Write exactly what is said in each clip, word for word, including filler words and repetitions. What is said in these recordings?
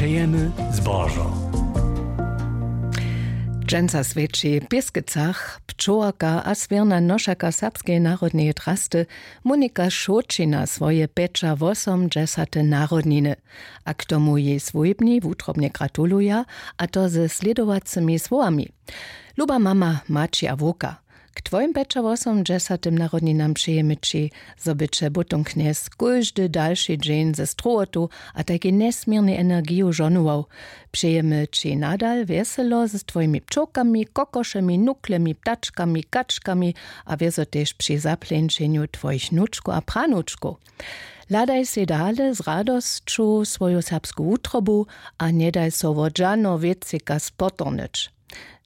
Pejemy zbožo. Dźensa swjeći w Pěskecach pčołarka a swěrna nošaka serbskeje narodneje drasty Monika Šoćina swoje pjećawosomdźesate narodniny. A k tomu jej swójbni wutrobnje gratuluja, a to ze slědowacymi słowami: Luba mama, maći a wowka, k twojim pjećawosomdźesatym narodninam přejemy ći, zo by će butong knjez kóždy dalši dźeń ze strowotu a tajkej njesměrnej energiju žohnował. Přejemy ći nadal wjeselo z twojimi pčołkami, kokošemi, nuklemi, ptačkami, kačkami a wězo tež při zapleńšenju twojich nučkow a pranučkow. Hladaj sej dale z radosću swoju serbsku wutrobu a njedaj so wot žano wěcejka spotornyć.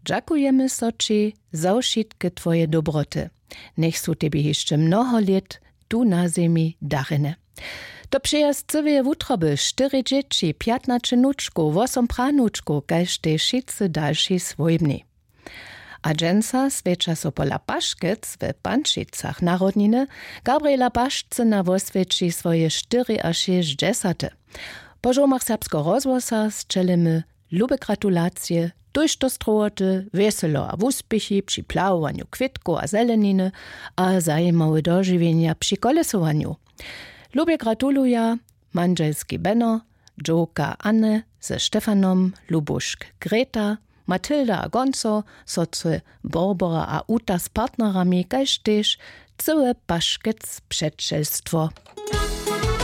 Dźakujemy so ći za wšitke twoje dobroty. Njech su tebi hišće mnoho lět tu na zemi darjene. To přeja z cyłeje wutroby, štyri dźěći, pjatnaće nučkow, wosom pranučkow, kaž tež wšitcy dalši swójbni. A dźensa swjeća so pola Paškec w Pančicach narodniny. Gabriela Pašcyna woswjeći swoje štyriašěsćdźesate. Po žołmach Serbskeho rozhłosa sćelimy lube gratulacije, tójšto strowoty, wjeselo a wuspěchi při plahowanju kwětkow a zeleniny a zajimawe dožiwjenja při kolesowanju. Lubje gratuluja mandźelski Beno, dźowka Anne ze Štefanom, Lubušk Greta, Matilda a Gonco, sotry Borbora a Uta z partnerami, kaž tež cyłe Paškec přećelstwo.